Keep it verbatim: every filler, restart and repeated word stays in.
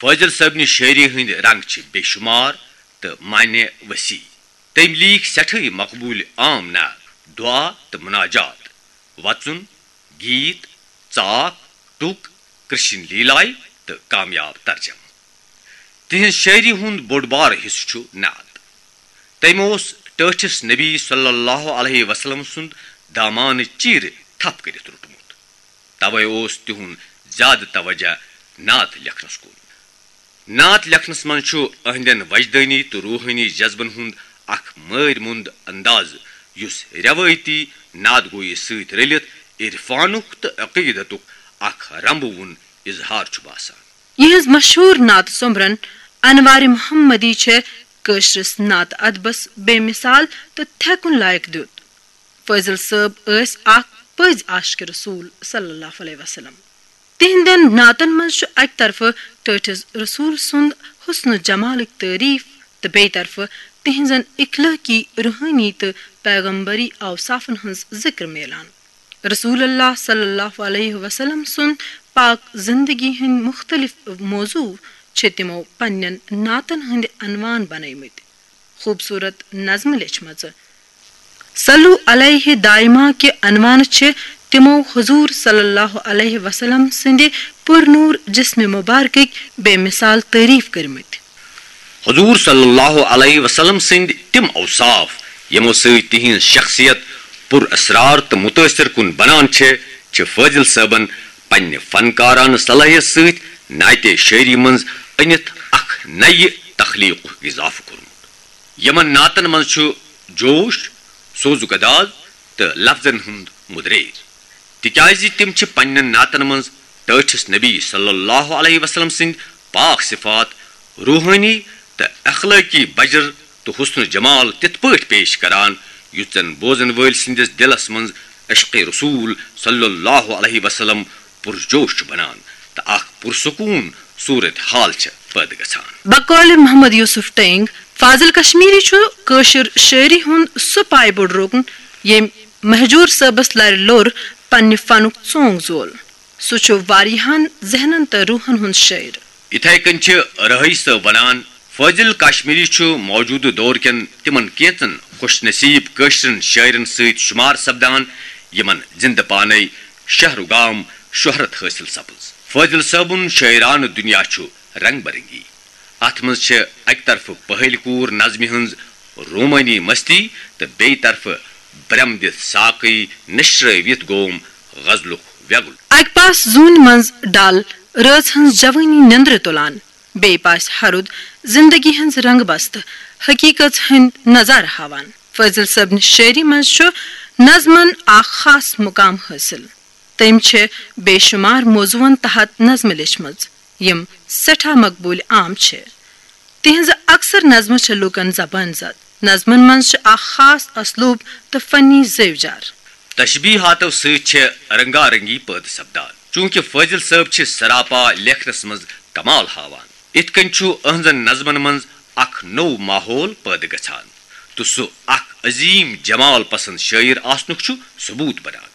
فٲضِل صٲبنہِ شٲعری ہٕنٛدۍ رنگ چھِ بے شمار تہٕ معنی وسیع۔ تٔمۍ لیٖکھۍ سٮ۪ٹھٕے مقبوٗل عام نعت، دعا تہٕ مناجات، وژُن، گیٖت، ژاکھ، ٹُک، کرشن لیلایہِ تہٕ کامیاب ترجمہٕ۔ تِہنٛز شٲعری ہُنٛد بوٚڑ بار حصہٕ چھُ نعت۔ تٔمۍ اوس ٹٲٹھِس نبی صلی اللہ علیہ وسلم سُنٛد دامانہٕ چیٖرِ تھپھ کٔرِتھ روٚٹمُت۔ توے اوس تِہُنٛد زیادٕ توجہ نعت لیکھنس کُن۔ نعت لیکھنس منٛز چھُ أہنٛدٮ۪ن وجدٲنی تہٕ روحٲنی جذبن ہُنٛد اکھ مٲرۍ مُنٛد انداز، یُس رٮ۪وٲیتی نعت گویی سۭتۍ رٔلِتھ عرفانُک تہٕ عقیدتُک اکھ رنبہٕ وُن اظہار چھُ باسان۔ یِہٕنٛز مشہوٗر نعتہٕ سوٚمبرن انوارِ محمدی چھےٚ کٲشرِس نعتہٕ ادبس بے مثال تہٕ تھٮ۪کُن لایق دیُت۔ فٲضِل صٲب ٲسۍ اکھ پٔزۍ عاشقِ رسول صلی اللہ علیہ وسلم۔ تِہنٛدٮ۪ن نعتن منٛز چھُ اکہِ طرفہٕ ٹٲٹھِس رسول سُنٛد حسن و جمالٕکۍ تعریف تہٕ بیٚیہِ طرفہٕ تِہنٛزن اخلٲقی، روحٲنی تہٕ پیغمبری اوصافن ہٕنٛز ذکر میلان۔ رسول اللہ صلی اللہ علیہ وسلم سُنٛد پاک زندگی ہٕنٛدۍ مُختٔلِف موضوع چھِ تِمو پننٮ۪ن نعتن ہٕنٛدۍ عنوان بنٲومٕتۍ۔ خوٗبصوٗرت نظمہٕ لیچھمژٕ۔ صلو علیہ دائمہ کہِ عنوانہٕ چھِ تِمو حضور صلی اللہ علیہ وسلم سٕنٛدِ پُرنوٗر جسمِ مُبارکٕکۍ بے مثال تعریف کٔرمٕتۍ۔ حضور صلی اللہ علیہ وسلم سٕنٛدۍ تِم اوصاف، یِمو سۭتۍ تِہنٛز شخصیت پُر اسرار تہٕ متٲثر کُن بنان چھِ، چھِ فٲضِل صٲبن پننہِ فنکارانہٕ صلٲحیت سۭتۍ نعتِ شٲعری منٛز أنِتھ اکھ نَیہِ تخلیقُک اضافہٕ کوٚرمُت۔ یِمن نعتن منٛز چھُ جوش، سوز و گداز تہٕ لفظن ہُنٛد مُدریر، تِکیازِ تِم چھِ پننٮ۪ن نعتن منٛز ٹٲٹھِس نبی صلی اللہ علیہ وسلم سٕنٛدۍ پاک صفات، روحٲنی تہٕ اخلٲقی بجر تہٕ حسن و جمال تِتھ پٲٹھۍ پیش کران، یُتھ زن بوزن وٲلۍ سٕنٛدِس دِلس منٛز عشق رسول صلی اللہ علیہ وسلم پُرجوش چھُ بنان تہٕ اکھ پُرسکوٗن صورت حال چھِ پٲدٕ گژھان۔ بقول محمد یوسف ٹینگ، فاضل کشمیری چھُ کٲشِر شٲعری ہُنٛد سُہ پایہِ بوٚڑ رُکُن، ییٚمۍ مہجور صٲبس لرِ لوٚر پننہِ فنُک ژونگ زول۔ سُہ چھُ واریاہن ذہنن تہٕ روحن ہُنٛد شٲعر۔ یِتھے کٔنۍ چھِ رہٲیی صٲب ونان، فٲضِل کشمیری چھُ موجودٕ دور کٮ۪ن تِمن کینژن خوش نصیب کٲشرٮ۪ن شٲعرن سۭتۍ شُمار سپدان، یِمن زِندٕ پانے شہر و گام شہرت حٲصِل سپٕز۔ فٲضِل صٲبُن شٲعرانہٕ دُنیا چھُ رنگ برنگی۔ اتھ منٛز چھِ اکہِ طرفہٕ پہلۍ کوٗر نظمہِ ہٕنٛز رومٲنی مستی تہٕ بیٚیہِ طرفہٕ برم دِتھ ساقٕے نشرٲوِتھ گوم غزلُک ویگُل۔ اکہِ پاس زوٗنہِ منٛز ڈل رٲژ ہٕنٛز جوٲنی نیٚنٛدرٕ تُلان، بیٚیہِ پاسہِ ہرُد زندگی ہٕنٛز رنگ بستہٕ حقیقژ ہٕنٛدۍ نظارٕ ہاوان۔ فٲضِل صٲبنہِ شٲعری منٛز چھُ نظمن اکھ خاص مقام حٲصِل۔ تٔمۍ چھِ بے شمار موضوعن تحت نظمہٕ لیچھمٕژ، یِم سٮ۪ٹھاہ مقبوٗل عام چھِ۔ تِہنٛزٕ اکثر نظمہٕ چھِ لوٗکن زبٲنۍ زد۔ نظمن منٛز چھِ اکھ خاص اسلوب تہٕ فنی زیوِجار۔ تشبیہاتو سۭتۍ چھِ رنگا رنگی پٲدٕ سپدان۔ چونکہ فٲضِل صٲب چھِ سراپا لیکھنس منٛز کمال ہاوان، اِتھ کٔنۍ چھُ أہنٛزن نظمن منٛز اکھ نوٚو ماحول پٲدٕ گژھان تہٕ سُہ اکھ عظیم جمال پسند شٲعر آسنُک چھُ ثبوت بنان۔